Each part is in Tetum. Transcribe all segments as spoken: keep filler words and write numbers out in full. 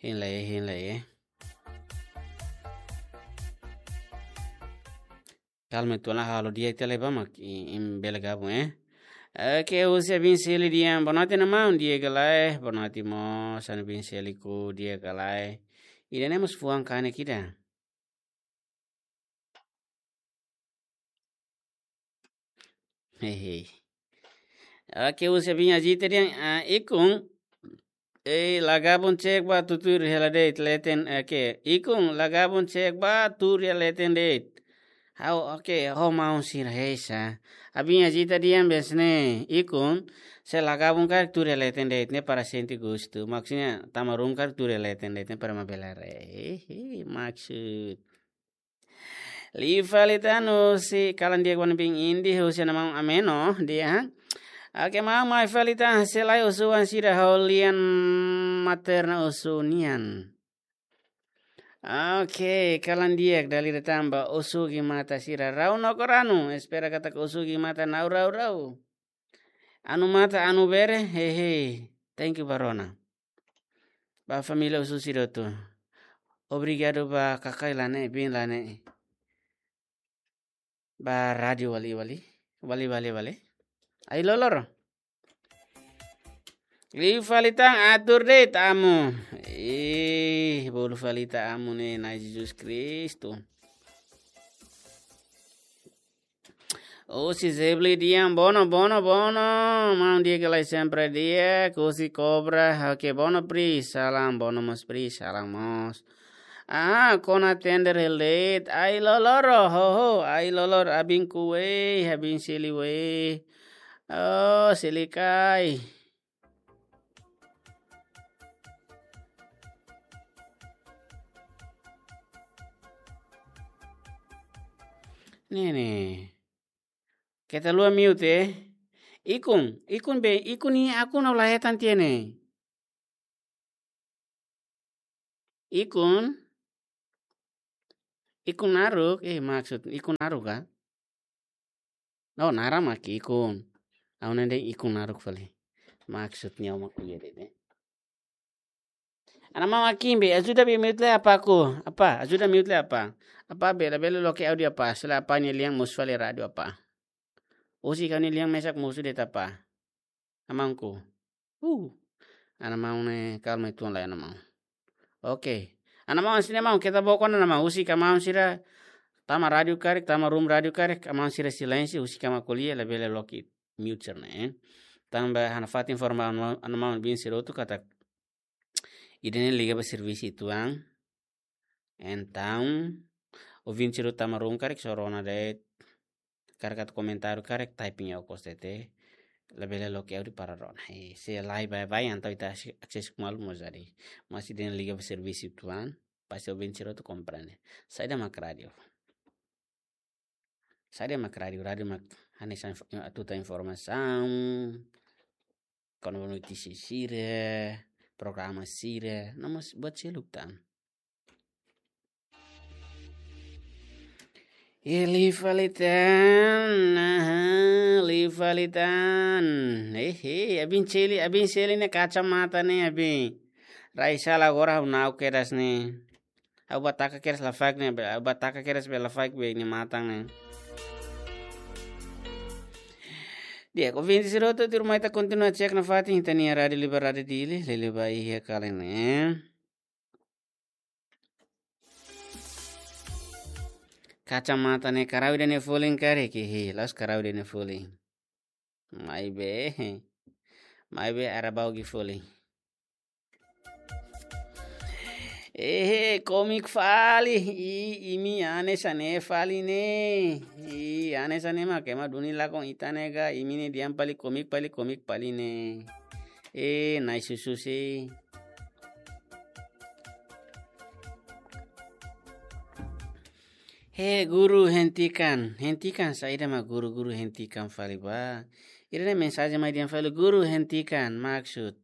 Hein lai, hein lai, eh. Kalma, ita la halo di'ak tiha lai ba mak i-, imi bele gabung, eh. Oke, husi Abin Seli Dian. Boa noite, maun, di'ak ka lae? Boa noite mós, Abin Seli, di'ak ka lae? Ida-ne'e mós fuan kanek ida. Hehe. Oke, husi Abin Ajita Dian, ah, ikun, eh, la gabung, cek ba tuur hela de'it leten, oke. Ikun, la gabung, cek ba tuur hela leten de'it. Ha'u, oke, ho maun sira heisa. Abin Ajita Dian besne, ikun, se la gabung karik tuur hela leten de'it, ne'e para sente gostu. Maksudnya, tama ruma karik tuur hela leten de'it, ne'e para mabelar. Eh, eh, maksud. Liu fali tan husi kalan di'ak wan bin indi husi ana maun Ameno, di'ak. Oke, maun, mai fali tan, se lae osu-oan sira ho lian materna osu nian. Oke, kalan di'ak dala ida tan ba osu gimata sira rau no koranu. Espera katak osu gimata na'ok rau-rau. Anu mata, anu bere, hehe. Thank you ba rona. Ba família osu sira hotu. Obrigadu ba kakai la ne'e, bin la ne'e. Ba rádiu wali, wali. Wali, wali, wali. Ai lolor. Liu fali tan, atur de'it amu. Ih, bolu fali tan amu ne'e, Na'i Jesus Kristu. Husi Zebli Dian, bono, bono, bono. Maun di'ak ka lae, sempre di'ak. Husi Kobra, oke, bono pri, salam, bono mós pri, salam mós. Ah, kona tender hela de'it, ai loloro, ho, ho, ai lolor, Abin Kuwe, Abin Seli we. Oh, Seli kai. Ne'e, ne'e. Keta haluha mute, eh. Ikun, ikun be, ikun ne'e akun ha'u la hetan tiha ne'e. Ikun. Ikun naruk, eh, maksud ikun naruk ka? Oh, naran mak ikun. Ha'u ne'e dehan ikun naruk fali. Maksudnya mak iya de'it, eh. Ana maun Akin be, ajuda be mute lai apá ku. Apá, ajuda mute lai apá. Apá be, labele loke áudiu apá. Se lae apá nia lian mosu fali rádiu apá. Husik ha'u-nia lian mesak mosu de'it apá. Amanku. Uh. Ana maun ne'e kalma uitoan lai, ana maun. Oke. Ana maun, sini maun, keta bokon ana maun. Husik maun sira tama rádiu karik, tama ruma rádiu karik, maun sira silénsiu, husik mak ko'alia, labele loke mute sira-ne'e, eh. Tanba ha'u nafatin informa ana maun, ana maun bin sira hotu katak ida-ne'e liga ba servisu uitoan. Entaun, ouvinte sira tama ruma karik, só rona de'it, karik atu komentáriu karik, typing iha okos de'it, labele loke áudiu para rona. Eh, se lae baibain, entaun ita akses, akses ku malu mós jadi. Mas ida-ne'e liga ba servisu uitoan, pasti ouvinte sira hotu komprende. Saida mak rádiu? Saida mak rádiu? Rádiu mak hanesan inf-, atu tau informasaun, kona-ba notísia sira, programa sira, no mós buat seluk tan. Eh, liu fali tan, aha, liu fali tan. Eh, eh, Abin Seli, Abin Seli ne'e kacamata ne'e, Abin. Rai sala agora ha'u na'ok kedas ne'e. Ha'u bá taka kedas lafaek ne'e, be, ha'u bá taka kedas be lafaek be nia matan ne'e. Di'ak, ouvinte sira hotu, tuirmai ita kontinua cek nafatin ita-nia Rádiu Liber, Rádiu Dili, liuliu ba iha kalan ne'e. Kacamata ne'e karau ida-ne'e folin karik, hehe, la'ós karau ida-ne'e folin. Maibé, maibé arabau gi folin. Eh, komik fali, i, imi hanesan ne'e fali ne'e. I, hanesan ne'e mak ema duni lakon ita ne'e ka, imi ne'e dehan fali komik, fali komik fali ne'e. Eh, nai susu si. He, guru hentikan, hentikan saida mak guru, guru hentikan fali ba. Ida-ne'e mensajen mai dehan fali guru hentikan, maksud.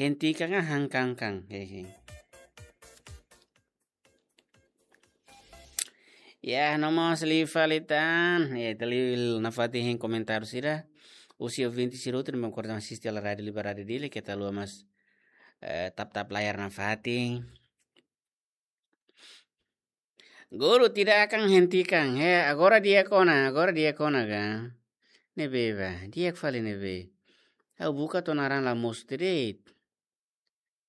Hentikan ka hangkangkang, hehe. Ya, no mós liu fali tan. Ya, ita liu nafatin hein komentáriu sira. Husi ouvinte sira hotu ne'ebé ko'alia asiste hela Rádiu Liber, Rádiu Dili, keta haluha mós eh, tap-tap layar nafatin. Guru tidak akan hentikan. He, agora di'ak ona, agora di'ak ona ka. Ne'ebé ba, di'ak fali ne'ebé. Ha'u buka to'o naran la mosu de'it.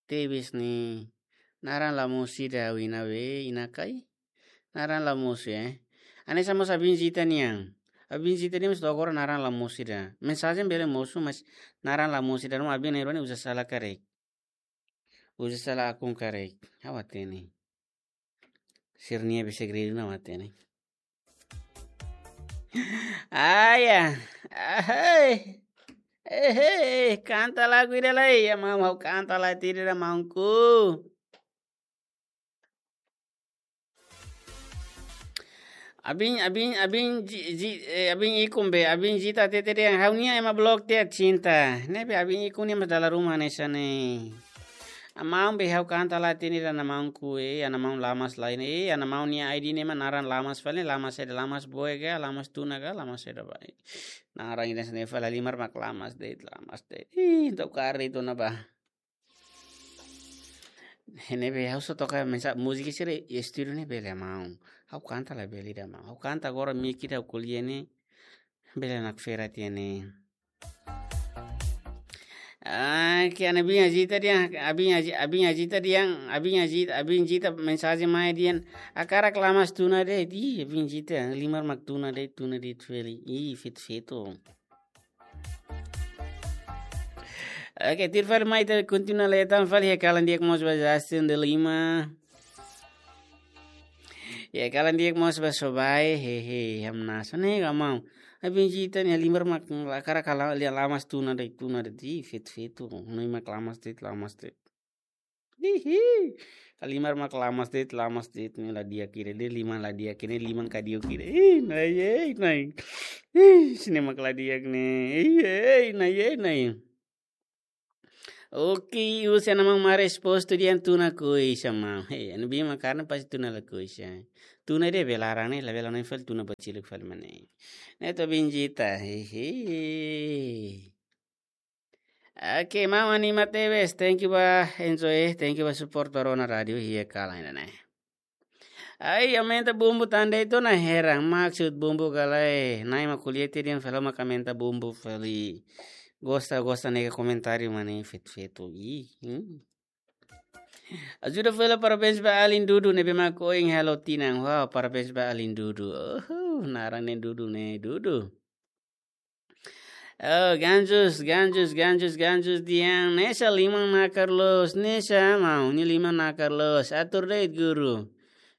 Tebes ne'e, naran la mosu ida ha'u iha ne'ebé, iha ne'e ka. Naran la mosu, eh. Hanesan mós Abin Zita nian. Abin Zita nian mós to'o agora naran la mosu ida. Mensajen bele mosu, mas naran la mosu ida. Ruma Abin ne'e rua ne'e uza sala karik. Uza sala akun karik. Ha'u hatene. Sira-nia be segredu ne'e ha'u hatene. Ai, ah. Ahai. Eh, eh, kanta lagu ida lai. Ya, mau, mau kanta lagu ida, maunku. Abin, Abin, Abin Zi-, Zi-, eh, Abin Ikun be, Abin Zita hatete dehan ha'u-nia ema blok tiha cinta. Ne'ebé Abin Ikun nian mós dala ruma hanesan ne'e. Ha'u maun be ha'u kanta lagu ida, ha'u-nia maunku, eh, ha'u-nia maun Lamas lain, eh, ha'u-nia maun nia I D ne'e mak naran Lamas fali, Lamas saida, Lamas boe ka, Lamas tuna ka, Lamas saida ba. Naran ida hanesan ne'e fali, halimar mak Lamas de'it, Lamas de'it. Ih, entaun karik tuna ba. Ne'ebé ha'u só toka mensa-, múzika sira estúdiu ne'e bele maun. Ha'u kanta labele ida maun. Ha'u kanta agora mik ida ha'u ko'alia ne'e bele nakfera tiha ne'e. Ah, ke Abin Zita dehan, Abin Zi-, Abin Zita dehan, Abin Zita, Abin Zita mensajen mai dehan, hakarak Lamas tuna de'it, ih, Abin Zita, halimar mak tuna de'it, tuna de'it fali, ih, feto-feto. Oke, tuir fali mai ita kontinua leten fali, iha kalan di'ak mós ba Justin de Lima. Iha kalan di'ak mós ba Sobai, hehe, hamnasa ne'e ka maun. Abin Zita ne'e halimar mak la hakarak la, la, Lamas tuna de'it, tuna de'it, ih, feto-feto, ne'e mak Lamas de'it, Lamas de'it. Hihi. Halimar mak Lamas de'it, Lamas de'it ne'e la di'ak ida, ne'e liman la di'ak ida, ne'e liman kadiuk ida. Ih, nai, eh, nai. Ih, sira-ne'e mak la di'ak ne'e. Ih, eh, nai, eh, nai. Oke, husi ha'u-nia maun Maris Postu dehan tuna koixa maun. Hei, ha'u-nia biin mak karne pasti tuna la koixa. Tuna ida be laran ne'e, labele hanoin fali tuna basiluk fali mak ne'e. Ne'e to'o Abin Zita, hehe. Oke, maun anima tebes, thank you ba enjoy, thank you ba support ba Rona Radio iha kalan ida-ne'e. Ai, aumenta bumbu tan de'it ona, heran, maksud bumbu ka lae, Na'i mak ko'alia tiha dehan fali ha'u mak aumenta bumbu fali. Gosta, gosta ne'e komentáriu mak ne'e feto-feto. Ih, hmm. Ajuda fali parabéns ba alin Dudu ne'ebé mak ohin halo tinan. Wow, parabéns ba alin Dudu. Oh, naran ne'e Dudu ne'e, Dudu. Oh, Ganjus, Ganjus, Ganjus, Ganjus dehan, hanesan liman nakar loos, hanesan maun nia liman nakar loos, atur de'it guru.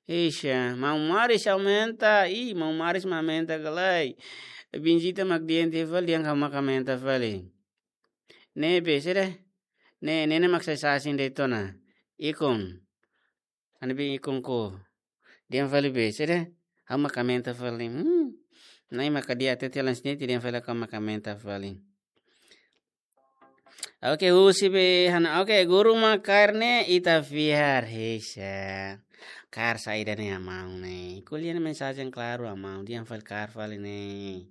Eixa, maun Maris aumenta, ih, maun Maris mak aumenta ka lae. Abin Zita mak dehan tiha fali, dehan ha'u mak aumenta fali. Ne'ebé, sede? Ne'e, ne'e, ne'e mak sai sasin de'it ona. Ikun. Ha'u-nia biin Ikun ko. Dehan fali be, sede? Ha'u mak aumenta fali. Hmm. Na'i mak dehan tiha tiha langsung dehan fali ha'u mak aumenta fali. Oke, husi be, hana, oke, guru mak kaer ne'e ita fiar, hexa. Kaer saida ne'e ha'u-nia maun ne'e. Ko'alia ne'e mensajen klaru ha'u-nia maun, dehan fali kaer fali ne'e.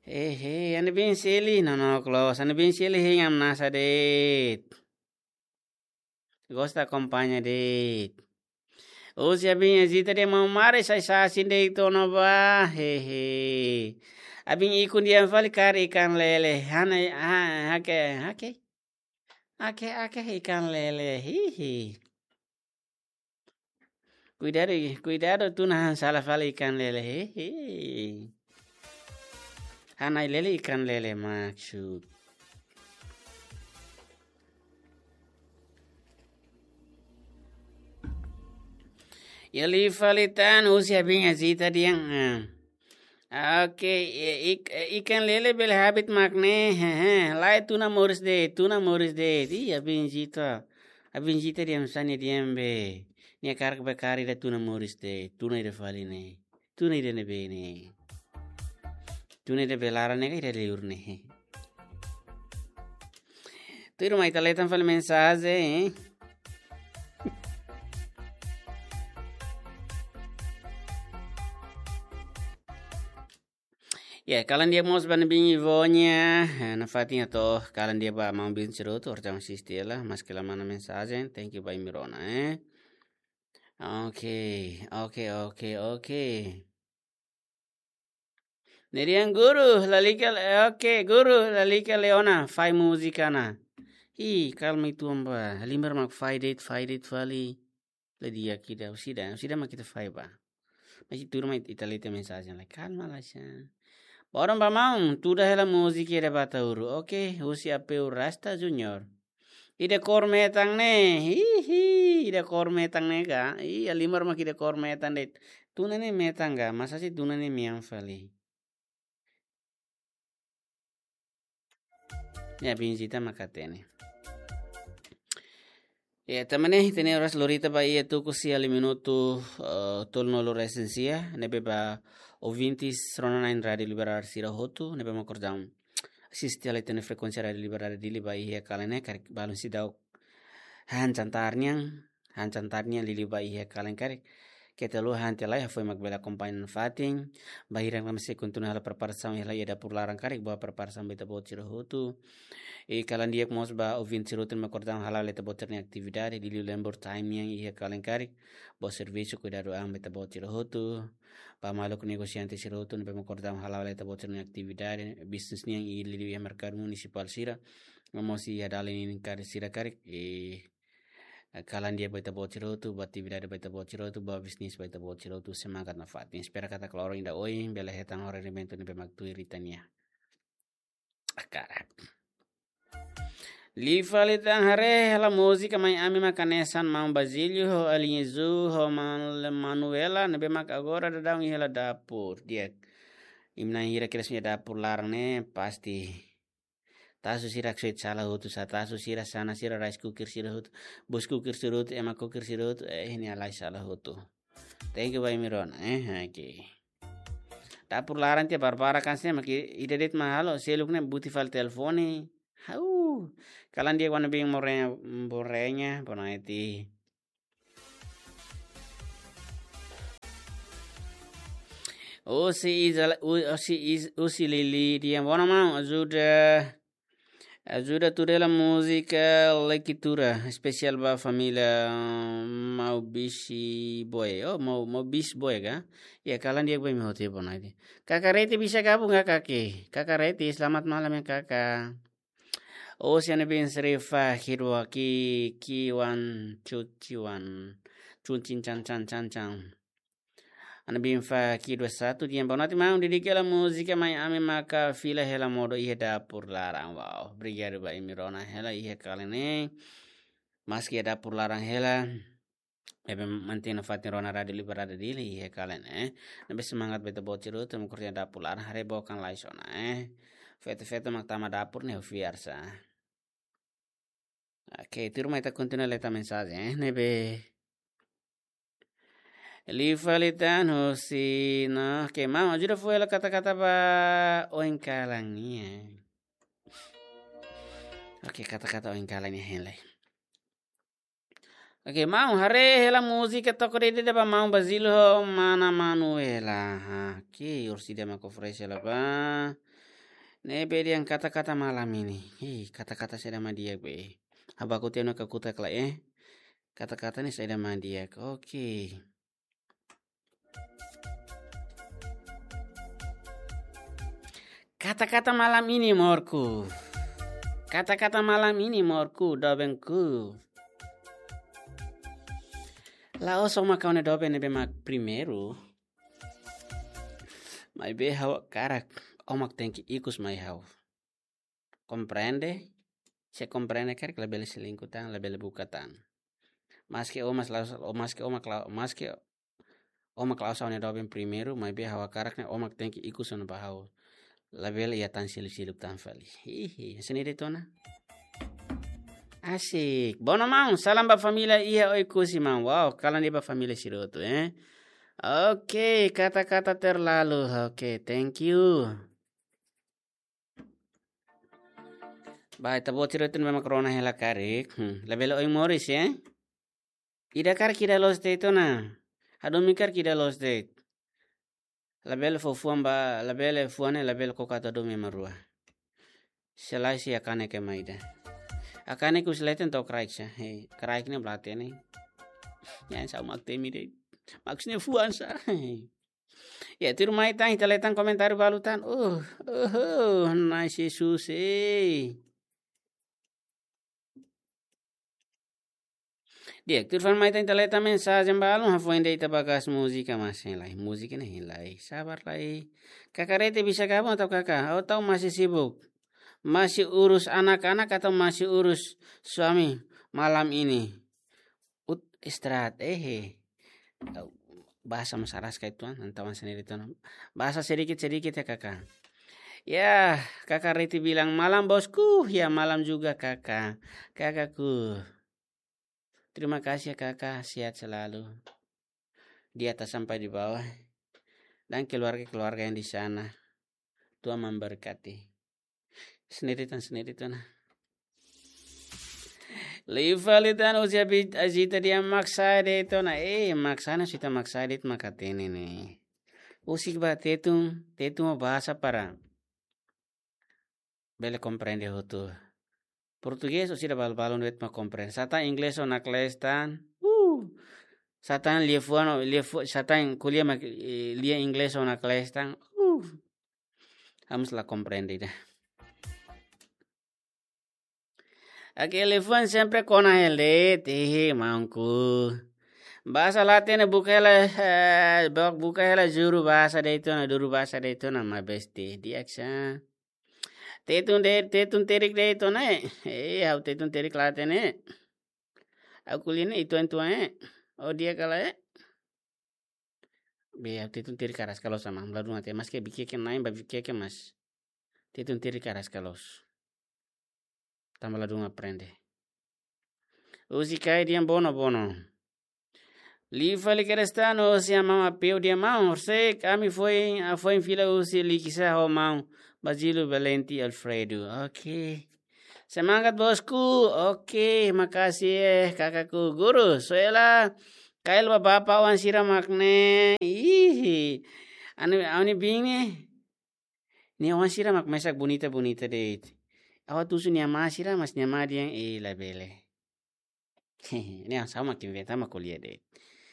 Hehe, ha'u-nia biin Seli, no, no, close. Ha'u-nia biin Seli, hein hamnasa de'it. Gosta akompaña de'it. Husi Abin Zita dehan maun Maris sai sasin de'it ona ba, hehe. Abin Ikun dehan fali kaer ikan lele. Hana, ha, hake, hake. Hake, hake ikan lele, hihi. Kuidadu, kuidadu tuna hanesan sala fali ikan lele, hihi. Hana ai lele ikan lele maksud. Iha liu fali tan husi Abin Zita dehan, ah. Oke, i-, ik-, ikan lele bele habit mak ne'e, hehe, lae tuna moris de'it, tuna moris de'it. Ih, Abin Zita. Abin Zita dehan sá nia dehan be. Nia hakarak be kaer ida tuna moris de'it, tuna ida fali ne'e. Tuna ida ne'ebé ne'e. Tuna ida be laran ne'e ka ida liur ne'e. Tuirmai ita leten fali mensajen, eh. Oke, kalan di'ak mós ba ne'ebé iha Vonya. Eh, nafatin hato'o kalan di'ak ba maun Bin Siroto, orjang asiste hela, maske la mana mensajen, thank you ba imi rona, eh. Oke, oke, oke, oke. Ne'e dehan guru, lalika, eh, oke, guru, lalika Leona, fahe múzika ona. Ih, kalma uitoan ba, halimar mak fahe de'it, fahe de'it fali. La di'ak ida, orsida, orsida mak ita fahe ba. Mas ita tuur mai ita lee tiha mensajen lai. Kalma lai sa. Boron ba maun, tuda hela múzika ida ba Ataúru. Oke, husi Apeu Rasta Junior. Ida kór metan ne'e, hihi, ida kór metan ne'e ka. Ih, halimar mak ida kór metan de'it. Tune ne'e metan ka, mas hanesan tune ne'e mean fali. Ya, Bin Zita mak hatene. Ya, tanba ne'e, hatene oras lorita ba iha tuku sia liu minutu, eh, tolunulu-resin-sia, ne'ebé ba ouvintes rona-na'in Rádiu Liberdade sira hotu, ne'ebé mak orjang asiste hela iha frekuénsia Rádiu Liberdade Dili ba iha kalan ne'e, karik balun seidauk han jantar nian, han jantar nian liuliu ba iha kalan karik. Keta haluha han tiha lai, hafoin mak bele akompaña nafatin. Bainhira mak sei kontinua hela preparasaun hela iha dapur laran karik, boa preparasaun ba ita-boot sira hotu. I kalan di'ak mós ba ouvinte sira hotu ne'ebé mak orjang hala'o hela ita-boot sira-nia atividade, liuliu lembur time nian iha kalan karik. Boa servisu, kuidadu an ba ita-boot sira hotu. Ba maluk negosiante sira hotu ne'ebé mak orjang hala'o hela ita-boot sira-nia atividade, bisnis nian i liuliu iha merkadu munisipál sira. No mós iha dalan ninin karik sira karik, i kalan di'ak ba ita-boot sira hotu, ba atividade ba ita-boot sira hotu, ba bisnis ba ita-boot sira hotu, semangat nafatin. Espera katak loron ida oin bele hetan rendimentu ne'ebé mak tuir ita-nia hakarak. Liu fali tan, haree hela múzika Mai Ami mak hanesan maun Basílio ho Alinha Zu ho maun Manuela ne'ebé mak agora daudaun iha hela dapur. Di'ak. Imi na'in hira kedas iha dapur laran ne'e pasti tasu sira haksoit sala hotu, sá tasu sira, xana sira, rice cooker sira hotu, bus cooker sira hotu, ema cooker sira hotu, eh, ne'e halai sala hotu. Thank you ba imi rona, eh, oke. Dapur laran tiha barbarak hanesan ne'e, mak ida de'it mak halo, seluk ne'e buti fali telefone. Hau. Kalan di'ak ba ne'ebé mak rona, mak rona, boa noite. Husi Izala-, u-, husi Iz-, husi Lili dehan: "Boa noite, maun, ajuda, ajuda tuda hela múzika Leitura, espesiál ba família, hum, Maun Bisi Boy." Oh, Maun, Maun Bisi Boy ka? Ya, kalan di'ak ba imi hotu, boa noite. Kaka Reti bisa gabung ka, Kaki? Kaka Reti, selamat malam ya, Kaka. Husi Ana Bin Srifa, Hirwaki, Kiwan, Cuciwan, Cuncin, Can, Can, Can, Can. Ana Bin Fa, Ki dua satu, dehan: "Boa noite, maun, dedika hela múzika Mai Ami maka fila hela modo iha dapur laran." Wow, obrigadu ba imi rona hela iha kalan ne'e. Maski iha dapur laran hela, ne'ebé mantein nafatin rona Rádiu Liberdade Dili iha kalan ne'e. Ne'ebé semangat ba ita-boot sira hotu mak iha dapur laran, haree bokan lai sona, eh. Feto-feto mak tama dapur ne'e fiar sa. Oke, tuirmai ita kontinua lee tiha mensajen, eh, ne'ebé. Liu fali tan husi, no, oke, maun, ajuda fó hela kata-kata ba oin kalan nian. Oke, kata-kata oin kalan nian hein lai. Oke, maun, haree hela múzika To'o De'it De'it ba maun Basílio ho mana Manuela. Ha, oke, orsida mak oferese hela ba. Ne'ebé dehan kata-kata malam ini. Hei, kata-kata saida mak di'ak be. Habaku tiha ona kakutak lai, eh. Kata-kata ne'e saida mak di'ak. Oke. Kata-kata malam ini, amorku. Kata-kata malam ini, amorku, dobenku. La'ós ó mak ha'u-nia doben ne'ebé mak primeiru. Maibé ha'u hakarak ó mak tenke ikus mai ha'u. Komprende? Se komprende karik, labele selingkuh tan, labele buka tan. Maski ó mak la'ós, ó maski ó mak la-, maski ó mak la'ós ha'u-nia doben primeiru, maibé ha'u hakarak ne'e ó mak tenke ikus ona ba ha'u. Labele iha tan seluk-seluk tan fali. Hihi, hanesan ne'e de'it ona. Asik. Bono maun, salam ba família iha Oekusi maun. Wow, kalan di'ak ba família sira hotu, eh. Oke, kata-kata terlalu. Oke, thank you. Ba ita-boot sira hotu ne'ebé mak rona hela karik. Hmm, labele oin moris, eh. Ida karik ida loos de'it ona. Hadomi karik ida loos de'it. Labele fó fuan ba, labele fuan ne'e, labele koko atu hadomi ema rua. Se lae sei hakanek ema ida. Hakanek husi leten to'o kraik sa. Hei, kraik ne'e blate ne'e. Nia sa'e mak temi de'it. Mak sne fuan sa. Ya, tuirmai tan, ita lee tan komentáriu balu tan. Uh, uh, uh, nai Jesus, eh. Di'ak, tuirmai tan, ita lee tan mensajen balu, hafoin de'it ita ba gas múzika, mas hein lai. Múzika ne'e hein lai. Sabar lai. Kaka Reti bisa gabung atau kaka? Atau masih sibuk? Masih urus anak-anak atau masih urus suami malam ini? Ut istirahat, eh, eh. Bahasa mas araska itu, ah, nantawan sendiri itu, nah. Bahasa sedikit-sedikit ya, Kaka. Ya, Kaka Reti bilang, "Malam, Bosku." Ya, malam juga, Kaka. Kakaku. Terima kasih ya, Kaka. Sehat selalu. Di atas sampai di bawah. Dan keluarga-keluarga yang di sana. Tuhan memberkati. Sendiri tan, sendiri tan, nah. Lifa litan usia bit azita dia maksa de'it ona. Eh, maksa na sita maksa de'it mak hatene ne'e. Husik ba Tetun, Tetun ho bahasa para bele komprende hotu. Portugés orsida balu-balu de'it mak komprende. Sá tan inglés ona kle'es tan. Uh. Sá tan lia fuan, lia fu-, sá tan ko'alia mak, eh, lia inglés ona kle'es tan. Uh. Ha'u mós la komprende ida. Oke, liafuan sempre kona hela de'it, eh, maunku. Bahasa laten buka hela, eh, bok buka hela juru bahasa de'it ona, duru bahasa de'it ona, ma besti, di'ak sa. Tetun de, Tetun terik de'it ona, eh. Eh, ha'u Tetun terik laten, eh. Ha'u ko'alia ne'e ituan-ituan, eh. Oh, di'ak ka lae, eh. Be, ha'u Tetun terik araska loos, sama ladún até, maske bikieke na'in ba bikieke mas. Tetun terik araska loos. Tanba ladún aprende. Husi Kai Dian Bono Bono. Lifa li Kristano, husi Mama Peu dia mau, horisehik ami foin, ah, foin fila husi Likisá ho maun Basílio Valente Alfredo. Oke. Semangat, Bosku. Oke, makasih, eh, kakaku. Guru, soe la kail ba bapa oan sira mak ne'e. Ih. Anu, anu bing ne'e. Nia oan sira mak mesak bonita-bonita de'it. Ha'u atu husu nia amá sira, mas nia amá dehan, eh, labele. Ne'e sá mak inventa mak ko'alia de'it.